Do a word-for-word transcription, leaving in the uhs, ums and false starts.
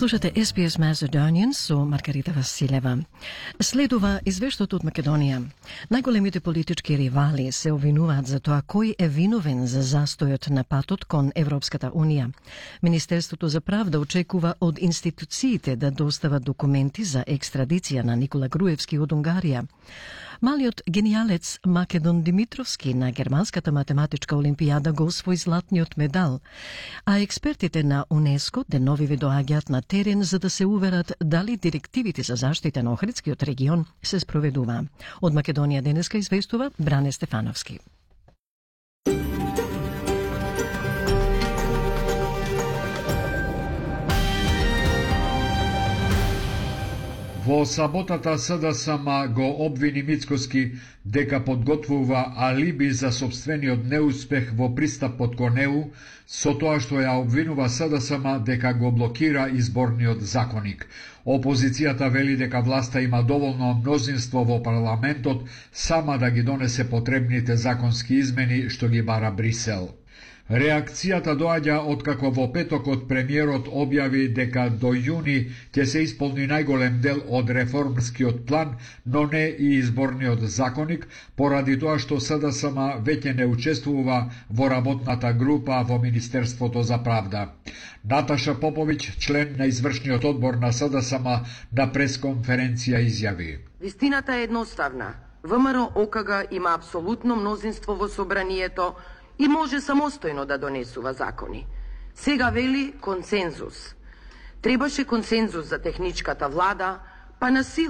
Слушате Ес Би Ес Macedonian со Маргарита Василева. Следува извештајот од Македонија. Најголемите политички ривали се обвинуваат за тоа кој е виновен за застојот на патот кон Европската Унија. Министерството за правда очекува од институциите да достават документи за екстрадиција на Никола Груевски од Унгарија. Малиот гениалец Македон Димитровски на Германската математичка олимпијада го освои златниот медал, а експертите на УНЕСКО деновиве доаѓаат на терен за да се уверат дали директивите за заштита на Охридскиот регион се спроведува. Од Македонија денеска известува Бране Стефановски. Во саботата СДСМ го обвини Мицкоски дека подготвува алиби за собствениот неуспех во пристапот кон Е У, со тоа што ја обвинува СДСМ дека го блокира изборниот законник. Опозицијата вели дека власта има доволно мнозинство во парламентот сама да ги донесе потребните законски измени што ги бара Брисел. Реакцијата доаѓа откако во петокот премиерот објави дека до јуни ќе се исполни најголем дел од реформскиот план, но не и изборниот законник, поради тоа што СДСМ веќе не учествува во работната група во Министерството за правда. Наташа Поповиќ, член на извршниот одбор на СДСМ, на пресконференција изјави: Вистината е едноставна. ВМРО О К Г има апсолутно мнозинство во собранието и може самостојно да донесува закони. Сега вели консензус. Требаше консензус за техничката влада, па на сила